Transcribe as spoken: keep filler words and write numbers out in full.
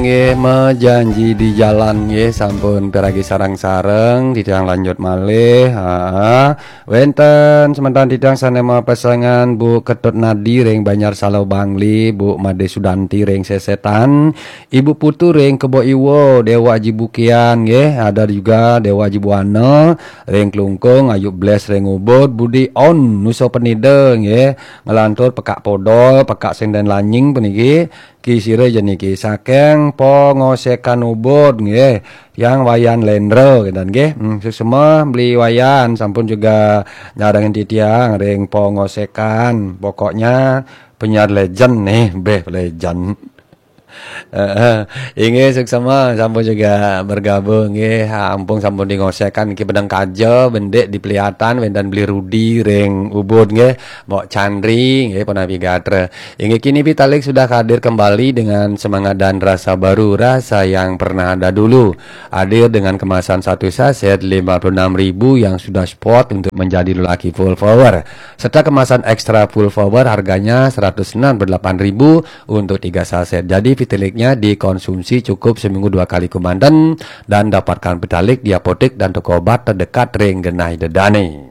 Nggih, mejanji di jalan nggih, sampun piragi sareng-sareng, titiang lanjut malih. Ha. Wénten semeton titiang sané mapesengan Bu Ketut Nadi ring Banjar Salo Bangli, Bu Made Sudanti ring Sesetan, Ibu Putu ring Kebo Iwa, Déwa Aji Bukian nggih, ada juga Déwa Aji Buana ring Klungkung, Ayu Bles ring Ubud, Budi On Nusa Penida nggih, nglantur Pekak Podol, Pekak Senden Lanying puniki, Ki sira jeniki saking Pongosekan Ubud nggih. Tiang Wayan Lendra kinten nggih. Hmm, suksma Beli Wayan sampun juga nyarengin titiang ring Pongosekan. Pokoknya penyiar legend nih, beh legend. Heeh. Inggih suksma sampun juga bergabung nggih. Ampung sampun di Ngosekan niki Beneng Kaja, bendik di Peliatan, wénten Beli Rudi ring Ubud nggih. Mbok Chandri nggih, punapi gatra. Inggih kini Vitalik sudah hadir kembali dengan semangat dan rasa baru, rasa yang pernah ada dulu. Hadir dengan kemasan satu saset lima puluh enam ribu yang sudah spot untuk menjadi lelaki full power. Serta kemasan ekstra full power harganya seratus enam puluh delapan ribu untuk tiga saset. Jadi Vitaliknya dikonsumsi cukup seminggu dua kali kemanten dan dapatkan Vitalik di apotek dan toko obat terdekat ring genah ida dané.